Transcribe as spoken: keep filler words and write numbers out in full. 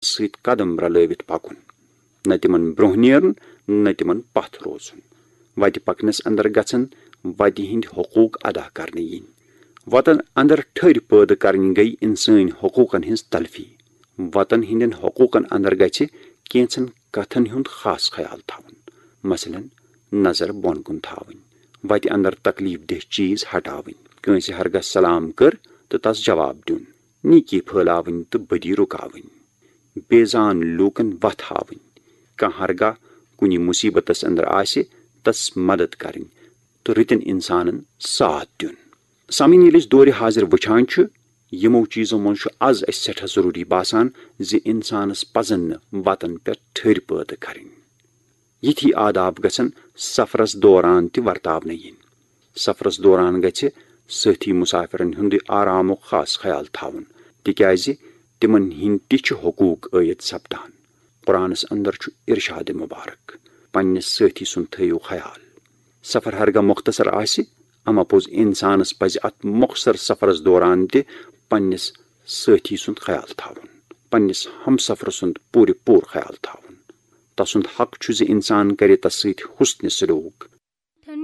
سۭتۍ قدم رلٲوِتھ پکُن، نہ تِمن برونٛہہ نیرُن، نہ تِمن پتھ روزُن۔ وتہِ پکنس اندر گژھن وتہِ ہٕنٛدۍ حقوق ادا کرنہٕ یِنۍ۔ وتن اندر ٹھٔرۍ پٲدٕ کرٕنۍ گٔے انسٲنۍ حقوقن ہٕنٛز تلفی۔ وتن ہٕنٛدٮ۪ن حقوقن اندر گژھِ کینٛژن کتھن ہُنٛد خاص خیال تھاوُن، مثلاً نظر بۄن کُن تھاوٕنۍ، وتہِ اندر تکلیف دہ چیز ہٹاوٕنۍ، کٲنٛسہِ ہرگاہ سلام کٔر تہٕ تس جواب دیُن، نیکی پھٲلاوٕنۍ تہٕ بدی رُکاوٕنۍ، بے زان لوٗکن وتھ ہاوٕنۍ، کانٛہہ ہرگاہ کُنہِ مصیبتس اندر آسہِ تس مدد کرٕنۍ تہٕ رٕتٮ۪ن انسانن ساتھ دیُن۔ سامعین، ییٚلہِ أسۍ دورِ حاضر وٕچھان چھِ، یِمو چیٖزو منٛز چھُ از اَسہِ سٮ۪ٹھاہ ضروٗری باسان زِ اِنسانس پزن نہٕ وتن پٮ۪ٹھ ٹھٔرۍ پٲدٕ کرٕنۍ۔ یِتھی آداب گژھن سفرس دوران تہِ ورتاونہٕ یِنۍ۔ سفرس دوران گژھِ سٲتھی مسافرن ہُنٛدُے آرامُک خاص خیال تھاوُن، تِکیازِ تِمن ہٕنٛدۍ تہِ چھِ حقوق عٲید سپدان۔ قرآنس اندر چھُ ارشاد مبارک، پننِس سٲتھی سُنٛد تھٲیِو خیال۔ سفر ہرگاہ مختصر آسہِ، اما پوٚز انسانس پزِ اتھ مختصر سفرس دوران تہِ پننِس سٲتھی سُنٛد خیال تھاوُن، پننِس ہمسفر سُنٛد پوٗرٕ پوٗرٕ خیال تھاوُن۔ تسُنٛد حق چھُ زِ انسان کرِ تس سۭتۍ حسن سلوک،